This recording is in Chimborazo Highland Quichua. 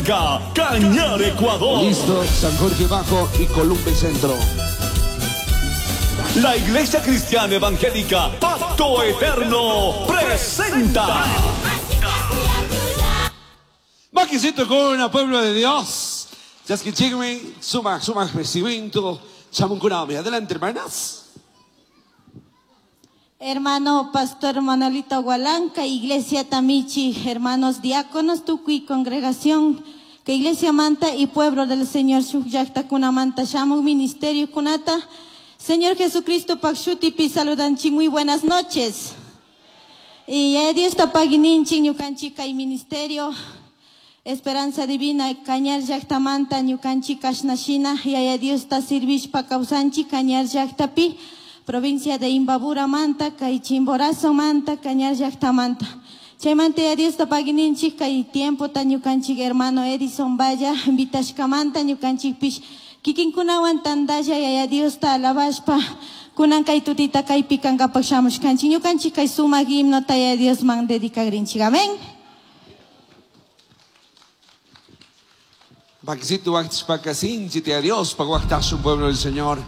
Cañar, Ecuador. Listo, San Jorge Bajo y Columbe Centro. La Iglesia Cristiana Evangélica Pacto Eterno presenta. Maquisito con pueblo de Dios. Chasquichigme, suma, suma recibimiento. Chamunkunami. Adelante, hermanas. Hermano Pastor Manolito Gualanca, Iglesia Tamichi, hermanos diáconos, Tucui, congregación, que Iglesia Manta y pueblo del Señor Shuk Kunamanta, Shamu Ministerio Kunata, Señor Jesucristo Pakshutipi saludanchi, muy buenas noches. Y Dios tapagininchi, ñukanchi kay ministerio, Esperanza Divina, Cañar Llaktamanta, ñukanchi kashnashina, Yaya Dios ta sirvishpa kawsanchi, Cañar Llaktapi, provincia de Imbabura Manta, kay Chimborazo Manta, Cañar Llaktamanta. Chaymanta Yaya Dios tapagininchi, kay tiempo ta ñukanchik hermano Edison Valla, invitashkamanta ñukanchikpish, kikinkunawan tandalla Yaya Dios ta alabashpa, kunan kay tutita kaypi kankapak shamushkanchik, ñukanchik kay sumak himno ta Yaya Diosman dedicagrinchik. Amén. Paquisito, Pacasín, a Dios, Paguactazo, pueblo del Señor.